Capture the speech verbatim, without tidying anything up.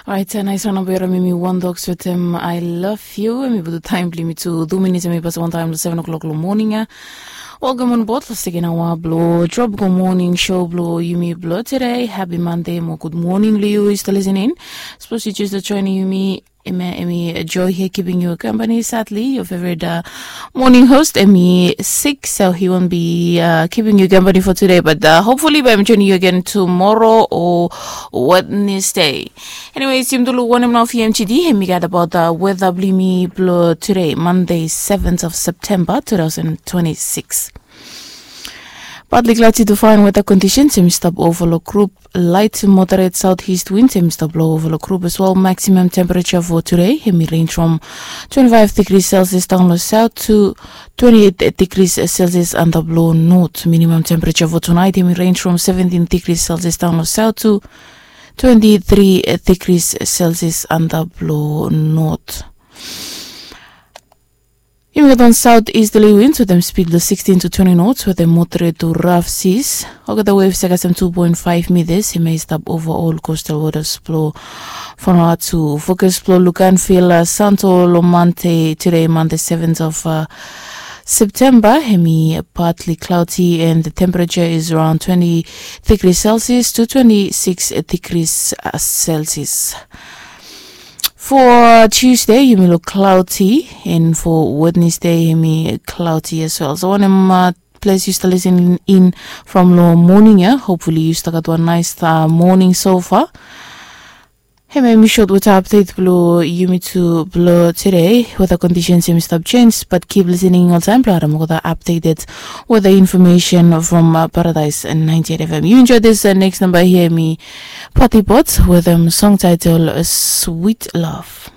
Orait, nais wan namba yora mi mi wan doks wetem I love you. Em i butu taim bilong mi tu tu minits em i pas wantaim long seven o'clock long moning ya. Welcome on board long second hour blo Tropical Morning Show blo yumi blo today. Happy Monday mo good morning lo yu is listening. Suppose you just joining yumi. Em i Joy here keeping you company. Sadly, your favorite uh, morning host, Emmy Six, so he won't be uh, keeping you company for today. But uh, hopefully, by joining you again tomorrow or Wednesday. Anyways, yum dulu one and off M G D. Hemi got about the weather blimi blo today, Monday, seventh of September, two thousand twenty-six. Partly cloudy to fine weather conditions. Em stop overlook group light to moderate southeast winds. Em stop blow overlook group as well. Maximum temperature for today. Em range from twenty-five degrees Celsius down the south to twenty-eight degrees Celsius under blow north. Minimum temperature for tonight. Em range from seventeen degrees Celsius down the south to twenty-three degrees Celsius under blow north. Yumi gat wan south easterly winds wetem speed lo sixteen to twenty knots wetem moderate to rough seas. Olgeta waves ya kasem two point five meters. Yumi stap ova ol coastal waters blo Vanuatu. Focus blo lukanville santo lo Monday, today Monday, seventh of uh, September. Hemi partly cloudy and the temperature is around twenty degrees Celsius to twenty-six degrees uh, Celsius. For Tuesday, yumi look cloudy, and for Wednesday, yumi cloudy as well. So wanem uh, place you still listening in from lo morning ya? Hopefully you still got one nice uh, morning so far. Hemi mi short weather update blo yumi tu blo today. Weather conditions yumi stop change, but keep listening all time blo harim olgeta updated weather information from uh, Paradise ninety-eight F M. You enjoy this uh, next number here, mi Party Bots with a song title uh, Sweet Love.